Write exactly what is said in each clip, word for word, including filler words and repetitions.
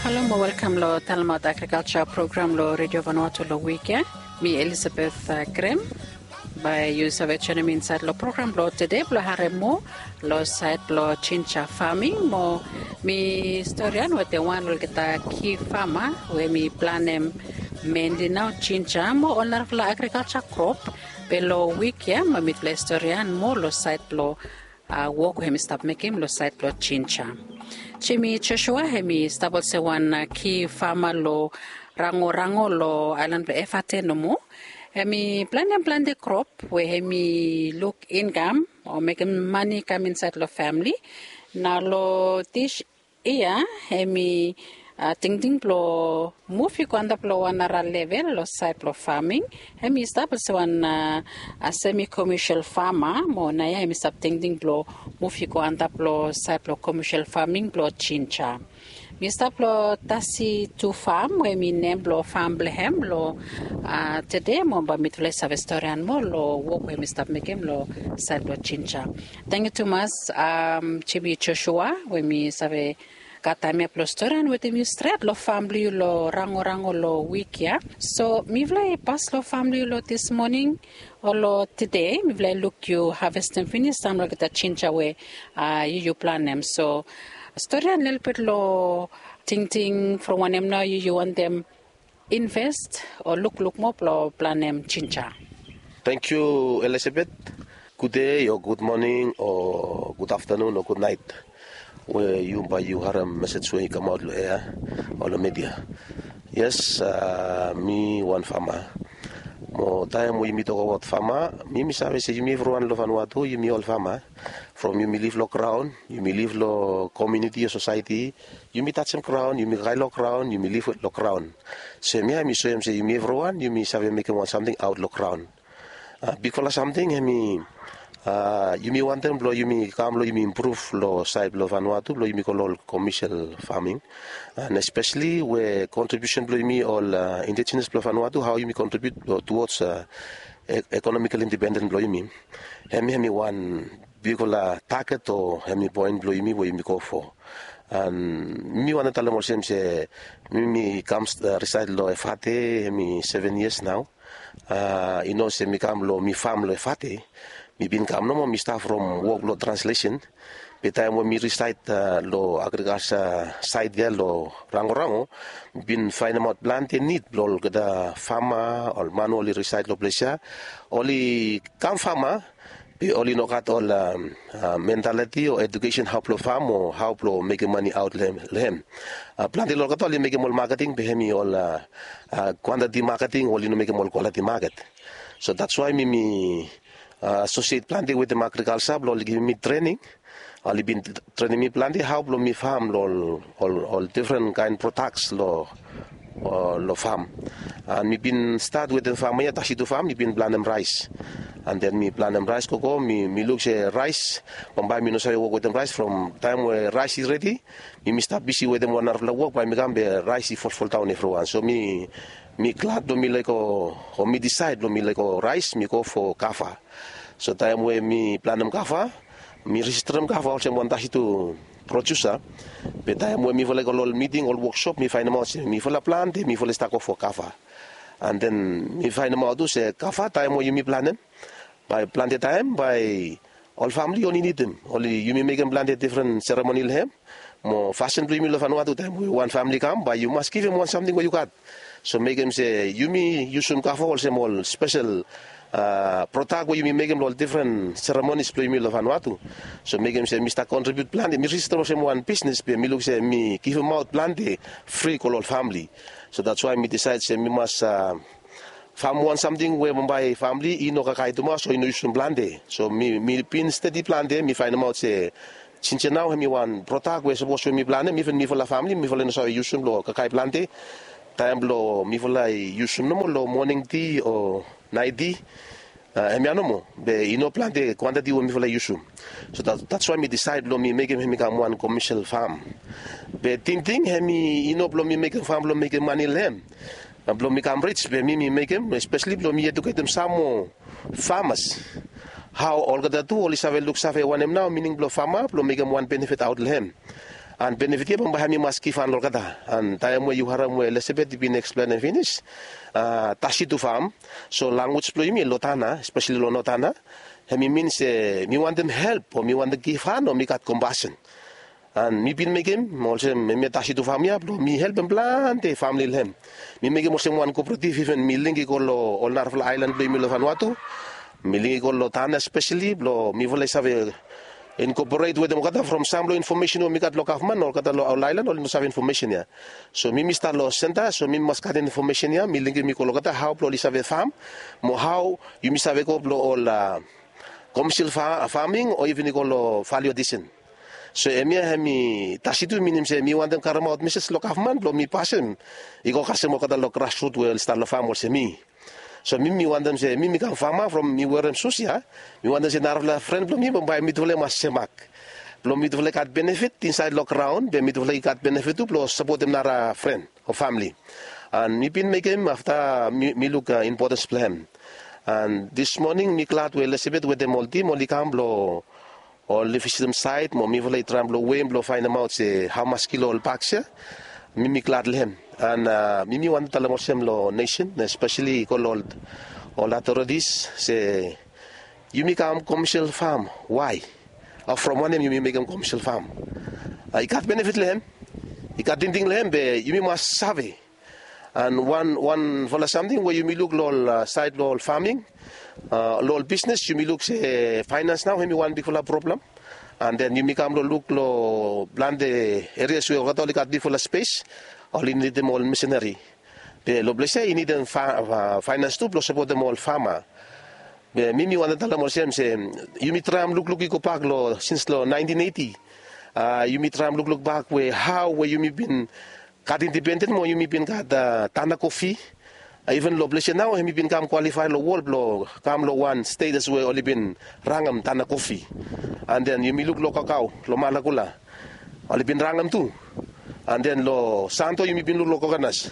Halo mo welkam long talemaot agrikalsa program long Redio Vanuatu long wik ya. Mi Elisabeth Grem. Bae yu save joinim mi insaed long program blong tede blong harem moa long saed blong jinja faming mo mi storian wetem wan long olgeta ki fama we mi planem menli nao jinja mo ol narafala agrikalsa krop. Be long wik ya mo mitufala i storian moa long saed blong wok we hem i stap mekem long saed blong jinja. Jimi Josua hem i stap olsem wan ki fama long Rangorango long aelan blong Efate nomo. Hem i planem plante krop we hem i luk inkam o mekem mane i kam insaed long famle. Nao long dis yia hem i tingting blong muv i go antap long wan nara level long saed blong faming. Hem i stap olsem wan semi komesel fama mo naoia hem i stap tingting blong muv i go antap long saed blong komesel faming blong jinja. Mi stap long tasi tu fam we mi nem blong fam blong hem long tede mo bae mitufala i save storian moa long wok we mi stap mekem long saed blong jinja. Tangkiu tumas, jimi Josua we mi save gat taem ya blong storian wetem yu stret long fam blong yu long Rangorango long wik ya. So mifala i pas long fam blong yu long dis moning o long tede mifala i luk yu havestem finis sam long olgeta jinja we yu yu planem. So storian lelebet long tingting from wanem nao yu yu wantem invest o lukluk moa blong planem jinja. Tangkiu, Elisabeth. Gudei o gudmoning o gudaftanun o gudnaet we yu bae yu harem mesej we i kamaot long ea o long midia. Yes, mi wan fama. Mo taem we yumi tokabaot fama, mi mi save se yumi evriwan long Vanuatu yumi ol fama. From yumi liv long graon, yumi liv long komuniti o sosaeti, yumi tajem graon, yumi kakae long graon, yumi liv long graon. So hemia hem i soem se yumi evriwan yumi save mekem wan samting aot long graon. Bigfala samting hem i yumi wantem blong yumi kam long yumi impruv long saed blong Vanuatu blong yumi go long ol komesel faming. And espeseli we kontribiusen blong yumi ol indijenas blong Vanuatu, hao yumi kontribiut tuods ekonomikel indipenden blong yumi. Hemia hem i wan bigfala taget o hem i poen blong yumi we yumi go fo. And mi wantem talem olsem se mi mi kam risaed long Efate hem i seven yias nao. I no se mi kam long mi fam long Efate. Mi bin kam nomo mi stap from wok long translesen. Be taem we mi risaed long agrikalsa saed ya long Rangorango, mi bin faenemaot plante nid blong olgeta fama, ol man we oli risaed long ples ya. Oli kam fama, be oli no gat ol mentaliti o edukesen hao blong fam o hao blong mekem mane aot long hem. Plante long olgeta oli mekem ol maketing be hem i ol kwantiti maketing, oli no mekem ol kwaliti maket. So datswae mi mi asosiet plante wetem agrikalsa blong oli givim mi trening. Oli bin trenem mi plante hao blong mi fam long ol difren kaen prodaks long fam. And mi bin stat wetem fam ya, tasi tu fam, mi bin planem raes. And then mi planem raes gogo, mi luk se raes bambae mi no save wok wetem raes. From taem we raes i redi, mi mi stap bisi wetem wan narafala wok bae mi kam be raes i folfoldaon evriwan. So mi mi glad blong mi lego o mi disaed blong mi lego raes mi go fo kava. So taem we mi planem kava, mi rejisterem kava olsem wan tasi tu produsa. Be taem we mifala i go long ol miting, ol woksop, mi faenemaot se mifala plante mifala i stap go fo kava. And then mi faenemaot tu se kava taem we yumi planem, bae plante taem bae ol famle oli nidim, oli yumi mekem plante difren seremoni long hem. Mo fasin blong yumi long Vanuatu taem we wan famle i kam bae yu mas givim wan samting we yu gat. So mekem se yumi yusum kava olsem ol spesel prodak we yumi mekem long ol difren seremonis blong yumi long Vanuatu. So mekem se mi stap kontribiut plante, mi rejistaem olsem wan bisnes be mi luk se mi givimaot plante fri go long ol famle. So datswae mi disaed se mi mas fam wan samting we bambae famle i no kakae tumas o i no yusum plante. So mi mi bin stadi plante, mi faenemaot se jinja nao hem i wan prodak we sapos we mi planem, iven mifala famle mifala i no save yusum long kakae plante. Taem blong mifala i yusum nomo long moning ti o naet ti, hemia nomo, be i no plante kwantiti we mifala i yusum. So datswae mi disaed blong mi mekem hem i kam wan komesel fam. Be tingting hem i no blong mi mekem fam blong mekem mane long hem blong mi kam rij, be mi mi mekem espeseli blong mi eduketem sam moa famas. Hao olgeta tu oli save luksave wanem nao mining blong fama blong mekem wan benefit aot long hem. An benefit ya bambae hem i mas givhan olgeta. An taem we yu harem we Elizabeth i bin eksplenem finis, tasi tu fam. So lanwis blong yumi long Tana, espeseli long Notana, hem i min se mi wantem help o mi wantem givhan o mi gat kompasen. An mi bin mekem olsem hemia tasi tu fam ya blong mi helpem plante famili long hem. Mi mekem olsem wan koporativ, iven mi link i go long ol narafala aelan blong yumi long Vanuatu. Mi link i go long Tana espeseli blong mifala i save inkoporet wetem olgeta from sam long infomesen we mi gat long gavman, olgeta long ol aelan oli no save infomesen ya. So mi mi stat long senta, so mi mi mas gat infomesen ya, mi linkim i go long olgeta hao blong oli save fam, mo hao yumi save go blong ol komesil faming o iven i go long valiu adisen. So hemia hem i tasi tu, minim se mi wantem karemaot mesej long gavman blong mi pasem i go kasem olgeta long grasrut we oli stat long fam olsem mi. So mi mi wantem se mi mi kam fama from mi werem sus ya, mi wantem se narafala fren blong mi bambae mitufala i mas semak blong mitufala i gat benefit insaed long graon be mitufala i gat benefit tu blong sapotem nara fren o famili. An mi bin mekem afta mi luk impotens blong hem. An dis moning mi glad we Elizabeth wetem ol tim oli kam blong oli visitim saet mo mifala i traem blong weim blong faenemaot se hamas kilo ol baks ya. Mi mi glad long hem. An mi mi wantem talem olsem long nesen, espeseli i go long ol otoretis se yumi kam komesil fam, wae? O from wanem yumi mekem komesil fam? I gat benefit long hem, i gat tingting long hem, be yumi mas save. An wan wanfala samting we yumi luk long ol saed long ol faming, long ol bisnes yumi luk se faenans nao hem i wan bigfala problem. An den yumi kam long luk long plante erias we olgeta oli gat bigfala spes, oli nidim ol misinari. Be long ples ya i nidim faenans tu blong sapotem ol fama. Be mi mi wantem talem olsem se yumi traem lukluk i gobak long sins long naentin eiti. Yumi traem lukluk bak we hao we yumi bin gat indipenden mo yumi bin gat tana kofi. Iven long ples ya nao hem i bin kam kwalifae long wol blong kam long wan stetas we oli bin rangem tana kofi. An den yumi luk long kakao long malakula, oli bin rangem tu. An den long santo yumi bin luk long kokonas.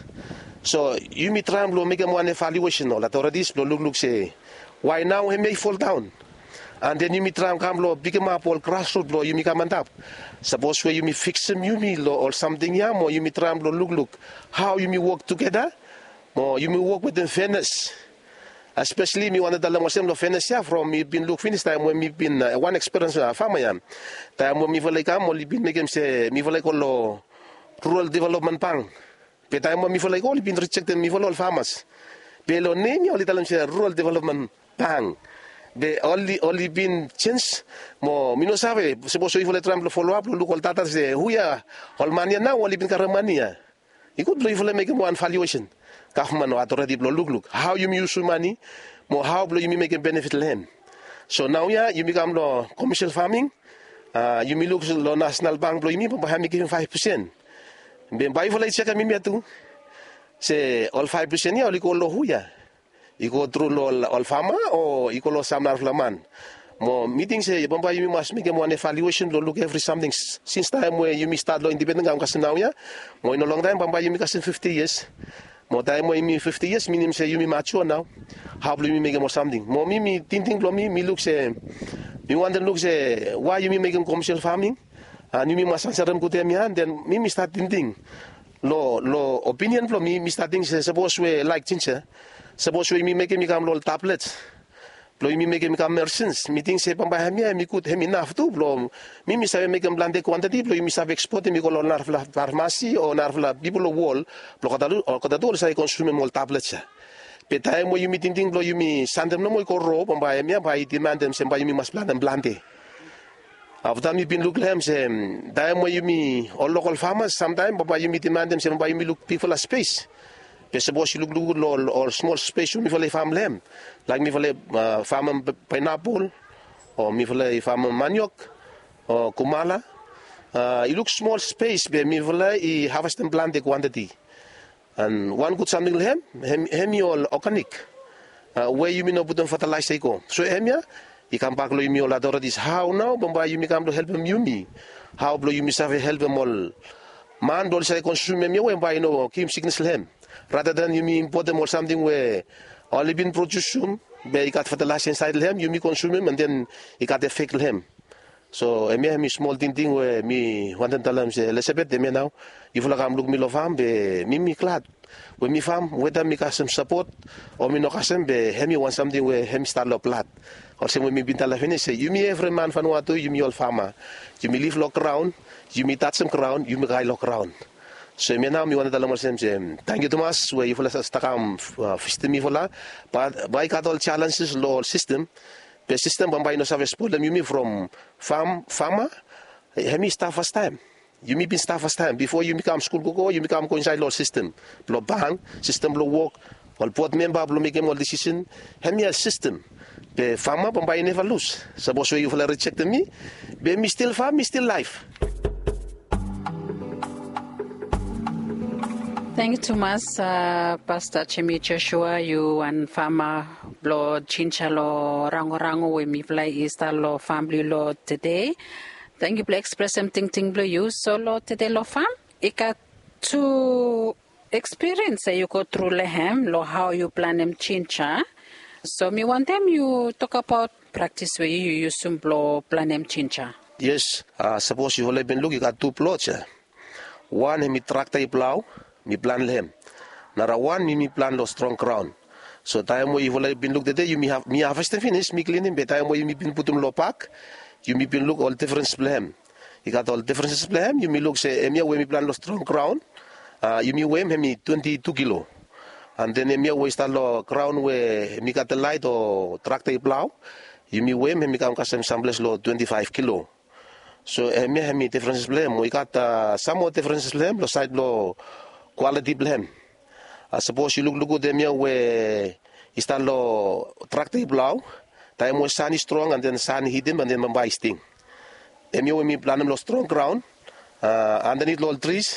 So yumi traem blong mekem wan evaluesen ol otoretis blong lukluk se wae nao hemia i foldaon. An den yumi traem kam blong pikimap ol grasrut blong yumi kam antap. Sapos we yumi fiksim yumi long ol samting ya mo yumi traem blong lukluk hao yumi wok tugeta mo yumi wok wetem fenes. Espeseli mi wantem talem olsem long fenes ya from mi bin luk finis taem we mi bin wan ekspiriens fama ya. Taem we mifala i kam oli bin mekem se mifala i go long rural developmen bank. Be taem we mifala i go oli bin rijektem mifala ol famas. Be long nem ya oli talem se rural developmen bank. Be oli bin jenj. Mo mi no save, sapos we yufala i traem blong foloap blong luk ol data se hu ya ol man ya nao oli bin karem mane ya. I gud blong yufala mekem wan valuesen, gavman o atoreti blong lukluk hao yumi yusum mane mo hao blong yumi mekem benefit long hem. So naoia yumi kam long komesil faming. Yumi luk long nasenal bank blong yumi bambae hem i givim faef pesen. Be bae yufala i jekem hemia tu, se ol faef pesen ya oli go long hu ya? I go tru long ol fama o i go long sam narafala man? Mo mi ting se bambae yumi mas mekem wan evaluesen blong luk evri samting sins taem we yumi stat long indipenden kam kasem naoia. Mo i no longtaem bambae yumi kasem fifti yias. Mo taem we yumi fifti yias minim se yumi majua nao. Hao blong yumi mekem ol samting? Mo mi mi tingting blong mi mi luk se, mi wantem luk se wae yumi mekem komesil faming. An yumi mas ansarem gud hemia. An den mi mi stat tingting long opinion blong mi, mi stat ting se sapos we laek jinja, sapos we yumi mekem i kam long ol tablet blong yumi mekem i kam mersins, mi ting se bambae hemia hem i gud, hem inaf tu blong mi mi save mekem plante kwantiti blong yumi save ekspotem i go long narafala farmasi o narafala pipol long wol blong olgeta tu oli save konsumem ol tablet ya. Be taem we yumi tingting blong yumi santem nomo i go ro bambae hemia bae i dimandem se bae yumi mas plantem plante. Afta mi bin luk long hem se taem we yumi ol lokol famas samtaem bambae yumi dimandem se bambae yumi luk bigfala spes. Be sapos yu lukluk long ol smol spes we mifala i fam long hem, laek mifala i famem paenapol o mifala i famem maniok o kumala, i luk smol spes be mifala i havestem plante kwantiti. An wan gud samting long hem, hem i ol oganik we yumi no putum fatalaesa i go. So hemia i kambak long yumi ol aotoretis, hao nao bambae yumi kam blong helpem yumi? Hao blong yumi save helpem ol man blong oli save konsumem hemia we bae i no givim siknes long hem? Rata dan yumi impotem ol samting we oli bin prodiusum be i gat fatalaesa insaed long hem, yumi konsumem an den i gat efek long hem. So hemia hemi smol tingting we mi wantem talem se Elizabeth, hemia nao yufala kam luk mi long fam be mi mi glad we mi fam weda mi kasem sapot o mi no kasem be hemi wan samting we hemi stap long blad. Olsem we mi bin talem finis se yumi evri man Vanuatu yumi ol fama. Yumi lif long graun, yumi tasim graun, yumi kai long graun. So hemia nao mi wantem talem olsem se tangkiu tumas we yufala stap kam visitim mifala. Bat bai i gat ol jalenjes long ol sistem, be sistem bambae i no save spolem yumi from fam fama. Hemi stap fastaem. Yumi bin stap fastaem bifo yumi kam skul gogo, yumi kam go insaed long ol sistem blong bank, sistem blong wok, ol bod memba blong mekem ol disisen. Hemia sistem. Be fama bambae i neva lus. Sapos we yufala rijektem mi, be mi stil fam, mi stil laef. Tangkiu tumas, pasta Jemi Joshua, yu wan fama blong jinja long rangorango we mifala i stap long fam blong yu long tede. Tangkiu blong ekspresem tingting blong yu. So long tede long fam i gat tu ekspiriens we yu go tru long hem long hao yu planem jinja. So mi wantem yu tokabaot praktis we yu yusum blong planem jinja. Yes, sapos yufala i bin luk i gat tu plot ya. Wan hemi trakta i plau, mi plan long hem. Nara wan mi mi plan long strong graun. So taem we yufala i bin luk tede yumi havestem finis mi klinim be taem we yumi bin putum long bak, yumi bin luk ol difrens blong hem. I gat ol difrenses blong hem, yumi luk se hemia we mi plan long strong graun, yumi wem hemi twenti tu kilo. An den hemia we i stap long graun we mi gat delaet o trakta i plau, yumi wem hemi kam kasem samples long twenti faef kilo. So hemia hemi difrenses blong hem. Mo i gat sam moa difrenses blong hem long saed blong kwaliti blong hem. Sapos yu lukluk gud hemia we i stap long trakta i plau, taem we san i strong an den san i hitim an den bambae i sting. Hemia we mi planem long strong graun, andanit long ol tris,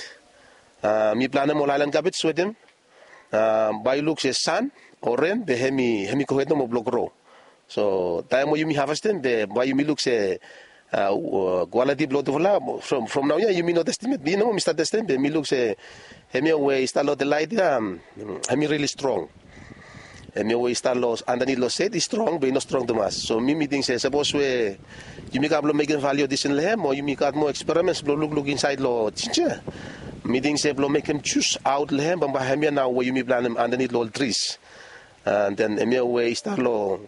mi planem ol aelan kabej wetem. Bae yu luk se san o ren be hemi go hed nomo blong gro. So taem we yumi havestem be bae yumi luk se kwaliti blong tufala. From naoia yumi no testem yet, mi nomo mi stap testem be mi luk se hemia we i stap long delaet ya, hemi rili strong. Hemia we i stap long andanit long sed i strong be i no strong tumas. So mi mi ting se sapos we yumi kam blong mekem valio disen long hem o yumi gat moa eksperimens blong lukluk insaed long jinja, mi ting se blong mekem jus aot long hem bambae hemia nao we yumi planem andanit long ol tris. An den hemia we i stap long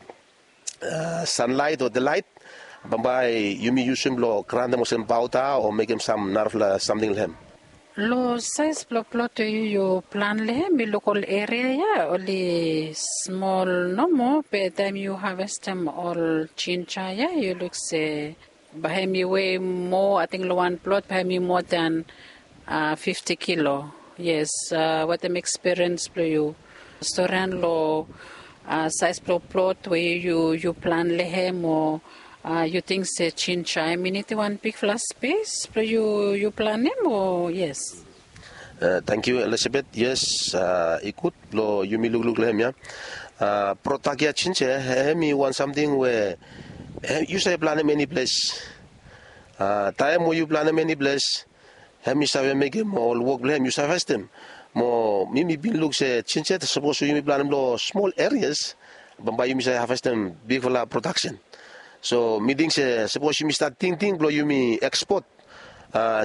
sanlaet o delaet, bambae yumi yusum blong grantem olsem paoda o mekem sam narafala samting long hem. Long saes blong plot we yu yu plan long hem mi luk ol eria ya oli smol nomo be taem yu havestem ol jinja ya yu luk se bae hemi wei moa ating long wan plot bae hemi moa dan fifti kilo. Yes, wetem ekspiriens blong yu, storian long saes blong plot we yu yu plan long hem o yu ting se jinja hemi nidim wan bigfala spes blong yu yu planem o yes? Tangkiu Elizabeth. Yes, i gud blong yumi lukluk long hem ya. Prodak ya jinja hemi wan samting we yu save planem eni ples. Taem we yu planem eni ples, hemi save mekem ol wok blong hem yu save havestem. Mo mi mi bin luk se jinja sapos we yumi planem long smol erias, bambae yumi save havestem bigfala prodaksen. So mi ting se sapos yumi stat tingting blong yumi ekspot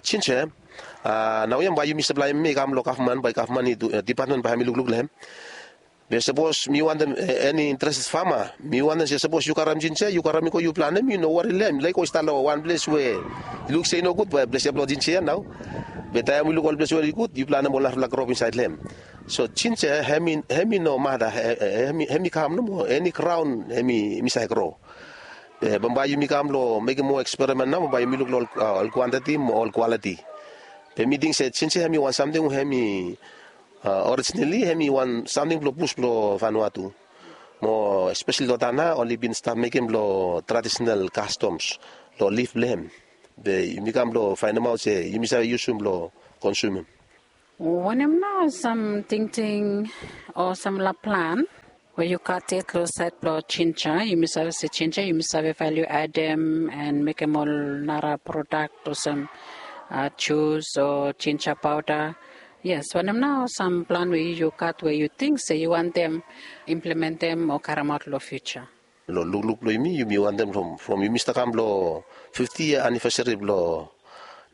jinja, naoia bae yumi saplaem hem i kam long gavman bae gavman i dipatmen bae hemi lukluk long hem. Be sapos mi wantem eni interested fama mi wantem se sapos yu karem jinja yu karem i go yu planem yu no wari long hem laik go i stap long wan ples we i luk se i nogud bae ples ya blong jinja ya nao. Be taem yu luk ol ples we i gud yu planem ol narafala krop insaed long hem. So jinja hem i no mata, hem i kam nomo eni graon hem i save gro. Be bambae yumi kam long mekem moa eksperimen nao bambae yumi luk long ol kwantiti mo ol kwaliti. Be mi ting se jinja hem i wan samting we hem i orijinali hem i wan samting blong bus blong Vanuatu. Mo espesali long tana oli bin stap mekem long tradisenal kastoms long lif blong hem. Be yumi kam blong faenemaot se yumi save yusum blong konsumim. Wanem nao sam tingting o samfala plan we yu gat yet long saed blong jinja? Yumi save se jinja yumi save valiu adem an mekem ol nara prodak olsem jus o jinja paoda. Yes, wanem nao sam plan we yu gat we yu ting se yu wantem implementem o karemaot long fiuja? Long lukluk blong yumi, yumi wantem from yumi stap kam long fifti yia anivesari blong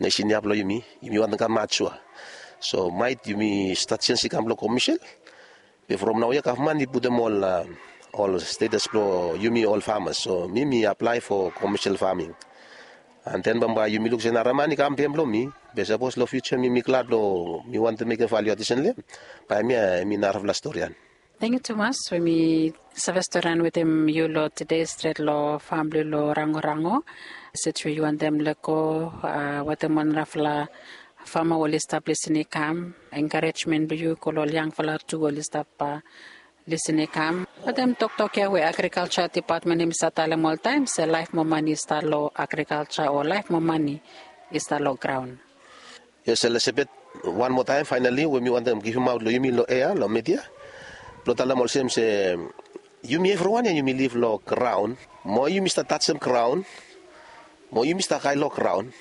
nesen ya blong yumi, yumi wantem kam matua. So maet yumi stat sens i kam long komisil, be from naoia gavman i putum ol ol stetas blong yumi ol famas, so mi mi aplae fo komisil faming. An den bambae yumi luk se nara man i kam biem long mi. Be sapos long fiuja mi mi glad blong mi wantem mekem valiu adisen long em, bae em ya em i narafala storian. Tengiu tumas we mi save storian wetem yu long tede stret long fam blong yu long rangorango. Sej we yu wantem lego wetem wan narafala fama we oli stap lisin i kam, enkarejmen blong yu go long ol yangfala tu we oli stap lisin i kam. Wetem toktok ya we agrikalja depatmen hem i save talem oltaem se laef mo mani i stap long agrikalja o laef mo mani i stap long graon. Yes, Elizabeth, wan moa taem faenali we mi wantem givimaot long yumi long ea long media blong talem olsem se yumi evriwan ya yumi liv long graon, mo yumi stap tajem graon, mo yumi stap kae long graon.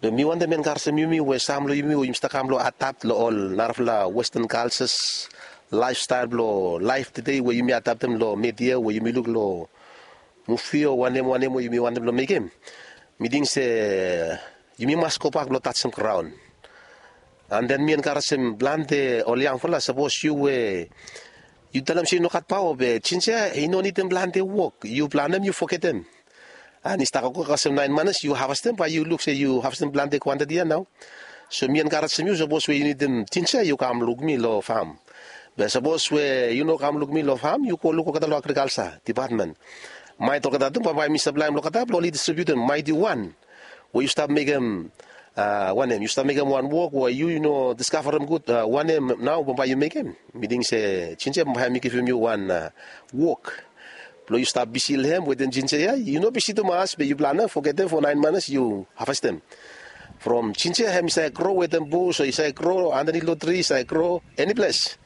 Be mi wantem enkarejem yumi we sam long yumi we yumi stap kam long adapt long ol narafala westan kaljas, laefstael blong laef tede we yumi adaptem long media we yumi luk long muvi o wanem wanem we yumi wantem blong mekem, mi ting se yumi mas gobak blong tajem graon. An den mi enkarejem plante ol yangfala, sapos yu we yu talem se yu no gat paoa, be jinja ya i no nidim plante wok, yu planem yu fogetem. An i stap gogo kasem naen manas yu havestem, bae yu luk se yu havestem plante kwantiti ya nao. So mi enkarejem yu, sapos we yu nidim jinja ya yu kam luk mi long fam. Be sapos we yu no kam luk mi long fam, yu go luk olgeta long agrikalja depatmen. Maet olgeta tu bambae mi saplaem long olgeta blong oli distribiutem maet yu wan we yu stap mekem wanem, yu stap mekem wan wok we yu yu no diskavarem gud wanem nao bambae yu mekem. Mi ting se jinja ya bambae hem i givim yu wan wok blong yu stap bisi long hem wetem jinja ya. Yu no bisi tumas be yu planem fogetem fo naen manas yu havestem. From jinja ya hem i save gro wetem bus o i save gro andanit long tri, i save gro eniples.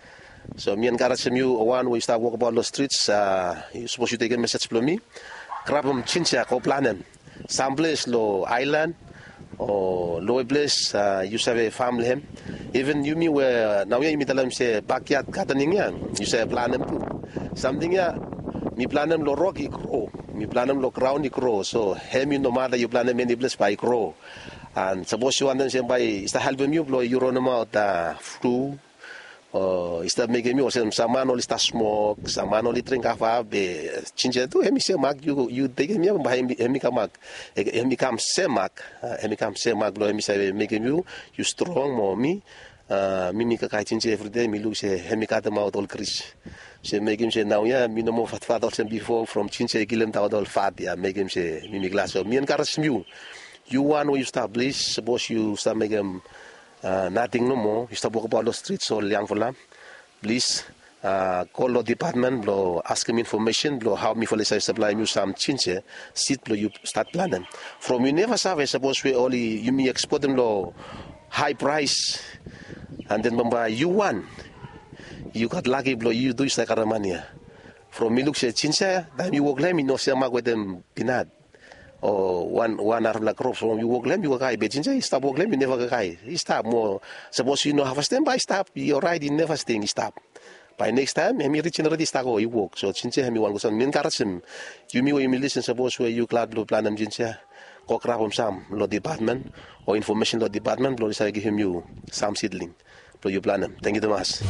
So mi enkarejem yu wan we yu stap wokbaot long strits, yu sapos yu tekem mesej blong mi, grabem jinja ya go planem samples long aelan o lowe ples yu save fam long hem. Iven yumi we naoia yumi talem se bakyad gadening ya yu save planem tu. Samting ya mi planem long rok i gro, mi planem long graon i gro, so hem yu nomata yu planem eniples bae i gro. An sapos yu wantem se bae i stap helpem yu blong yu ronemaot flu o i stap mekem yu olsem sam man oli stap smok, sam man oli dring kava, be jinja ya tu hem i semak, yu tekem ya bae hem i kam mak, hem i kam semak, hem i kam semak blong hem i save mekem yu yu strong mo mi. Mi mi kakae jinja ya evridei, mi luk se hem i katemaot ol gris, se mekem se naoia mi no moa fatfat olsem bifo from jinja ya i kilemdaot ol fat ya, mekem se mi mi glad. So mi enkarejem yu, yu wan we yu stap plis, sapos yu stap mekem nating nomo, yu stap wokbaot long strits ol yangfala, plis go long depatmen blong askem infomesen blong hao mifala i save saplaem yu sam jinja sid blong yu stat planem. From yu neva save sapos we oli yumi ekspotem long hae praes, an den bambae yu wan yu gat laki blong yu tu yu save karem mani ya. From mi luk se jinja ya taem yu wok long hem i no semak wetem pinat o wan wan narafala krop from yu wok long hem yu kakae, be jinja ya i stap wok long hem i neva kakae, i stap mo. Sapos yu no havestem bae i stap, i oraet, i neva sting, i stap. Bae nekstaem hem i rijenerate i stap go i wok. So jinja ya hem i wan gud sam. Mi enkarejem yumi we yumi lisin, sapos we yu glad blong planem jinja ya, go grabem sam long depatmen o infomesen long depatmen blong oli save givim yu sam sidling blong yu planem. Tengiu tumas.